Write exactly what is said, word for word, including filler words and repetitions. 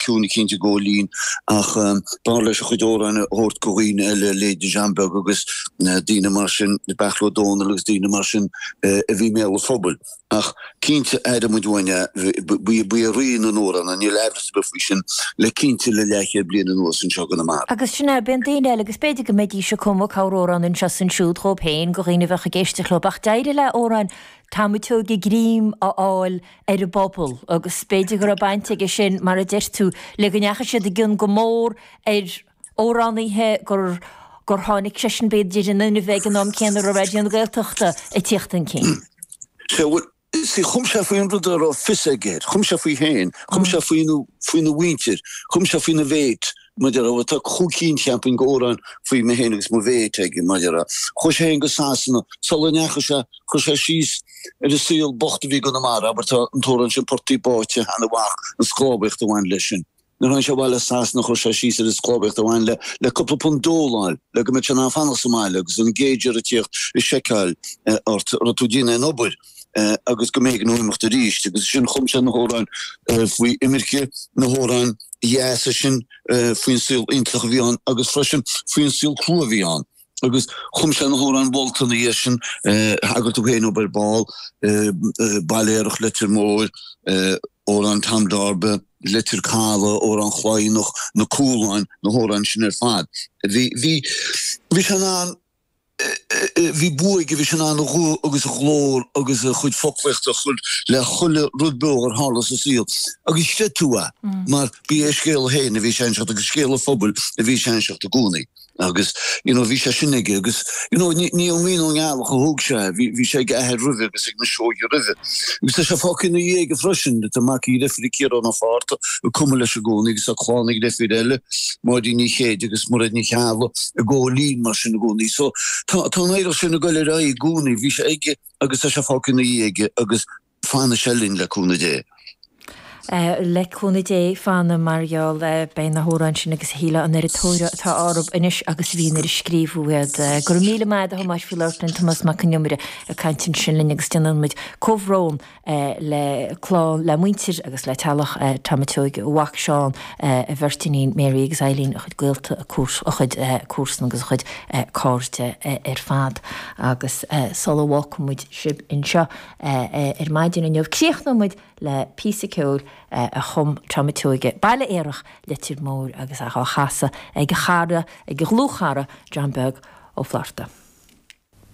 ciúin cinnte Góilín ach b'fhearr leis a chuid amhrán a thabhairt go dhaoine eile leithéidí John Beag agus daoine mar sin, Beairtle Ó Domhnaill agus daoine mar sin a bhí i mbéal an phobail. Ach cinnte aireoidh muid uainn é, ba é rí na n-amhrán é, níl aimhreas ar bith faoi sin, le cinnte le leathchéad bliain anuas anseo i gConamara. Agus sin é, bíonn daoine eile agus b'fhéidir go mbeidís ag cumadh corramhrán anseo is ansiúd dhóibh féin, go dhaoine a bheadh ag éisteacht leo, ach d'éirigh le amhráin Tommy Seoige greim a fháil ar an bpobal agus b'fhéidir go raibh baint aige sin, mar a deir tú, le go ndeachaigh siad i gcion go mór ar amhránaithe gur gur tháinig seisean b'fhéidir in inmhe ag an am céanna a raibh Raidió na Gaeltachta ag tíocht chun cinn. Sea, bhuel, see, chum sé faoin rud a raibh fios aige air, chum sé faoi féin, chum sé faoina faoina mhuintir, chum sé faoina mhéit, mar a déarfá, tá cúig cinn, cheapfainn, d'amhráin faoi mé féin agus mo mhéit aige, mar a déarfá. Chuaigh sé féin go Sasana, sula ndeachaigh sé, chuir sé síos ar an saol bocht a bhí i gConamara, abair, tá an t-amhrán sin Portaigh Báite, Sheáin an Mhac, an sclábhaíocht a bhain leis sin. Nuair a tháinig sé abhaile as Sasana chuir sé síos ar an sclábhaíocht a bhain le le cúpla punt dole a fháil le go mbeadh sé in ann fanacht sa mbaile agus an gauger ag tíocht ag seiceáil ort an raibh tú ag déanamh aon obair agus go mb'éigean dó imeacht arís agus ansin chum sé na hamhráin faoi imirce, na hamhráin dheasa sin faoin saol iontach a bhí ann agus freisin faoin saol crua a bhí ann. Agus chum sé na hamhráin mholta ina dhiaidh sin, thagair tú féin dóibh ar ball, Baile Aerach Leitir Móir, Amhrán Tom Darba, Leitir Caladh, Amhrán Chladhnach, Na Cúláin, na hamhráin sin ar fad. Bhí, bhí, bhí sé in ann, bhí bua aige, bhí sé in ann a ghuth agus a ghlór agus a chuid foclaíochta a chur le chuile rud beo ar tharla sa saol. Agus chreid tú é, mar ba é a scéal féin a bhí sé a inseacht agus scéal an phobail a bhí sé a inseacht i gcónaí. Agus you know bhí sé sin aige agus you know ní ní ón ngrian ón ngealach a thóg sé é, bhí bhí sé ag a athair roimhe agus ag na Seoighe roimhe. Agus tá sé fágtha ina dhiaidh aige freisin, tá mac a dhreifire Ciarán Ó Fátharta ag cumadh leis i gcónaí agus tá clann a dhreifire eile, Máirín Ní Chéide agus Mairéad Ní Cheallaigh i gCóilín mar sin i gcónaí. So tá tá an oidhreacht sin ag goil ar aghaidh i gcónaí, bhí sé aige agus tá sé fágtha ina dhiaidh aige agus fanfaidh sé linn le cúnamh Dé. Le cúnamh Dé, fanfaidh mar gheall, beidh na hamhráin sin agus a shílfeá an oiread tóir atá orthu anois agus a bhí nuair a scríobhadh iad. Go raibh míle maith agat a Thomáis faoi labhairt linn, Tomás Mac Con Iomaire ag caint ansin linn agus déanann muid comhbhrón le clann, le muintir agus le teaghlach Tommy Seoige, a mhac Seán, a bheirt iníon Mary agus Eileen, a chuid gaolta, a chuid comharsan agus a chuid cairde ar fad. Agus sula bhfágfaidh muid sibh anseo ar maidin inniu, críochnóidh muid le píosa ceoil a chum Tommy Seoige, Baile Aerach, Leitir Móir agus é á chasadh ag a chara, ag a dhlúthchara, John Beag Ó Flatharta.